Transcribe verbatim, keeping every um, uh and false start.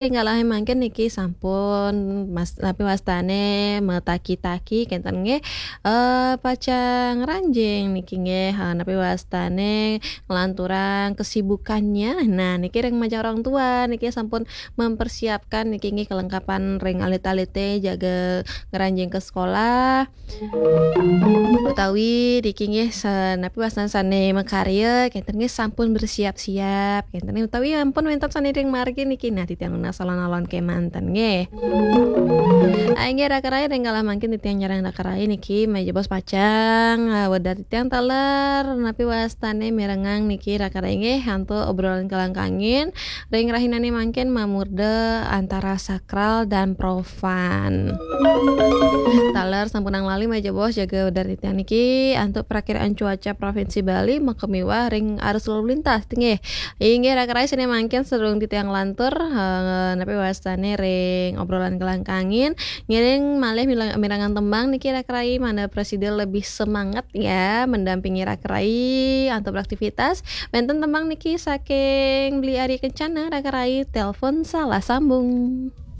Enggal mangkin niki sampun mas, napi wastane metaki-taki kenten nggih, eh, pacang ranjing niki nggih, eh, napi wastane nglanturang kesibukannya. Nah, niki ring majeng orang tua niki sampun mempersiapkan niki nggih kelengkapan ring alit-alite jaga ngranjing ke sekolah. Utawi niki nggih sa-, napi wastane sane makarya kenten nggih sampun bersiap-siap kenten nggih, utawi ampun wenten sane ring margi niki. Nah, titiang nunas alon-alon kemanten nggih. Ah, inggih Raka Rai, ring kala mangkin titiang nyarengin Raka Rai niki majeng bos pacang, ah, wedar titiang taler napi wastane mirengang niki Raka Rai nggih antuk obrolan kelangkangin ring rahinane mangkin mamurda antara sakral dan profan. Taler sampunang lali majeng bos jaga wedar titiang niki antuk prakiraan cuaca Provinsi Bali makamiwah ring arus lalu lintas nggih. Inggih Raka Rai, sane mangkin sadurung titiang lantur, eh, napi wastane ring obrolan kelangkangin, ngiring malih mila-, mirengang tembang niki Raka Rai, mangda prasida lebih semangat ya mendampingi Raka Rai antuk beraktivitas. Wenten tembang niki saking Beli Ari Kencana, Raka Rai, telepon salah sambung.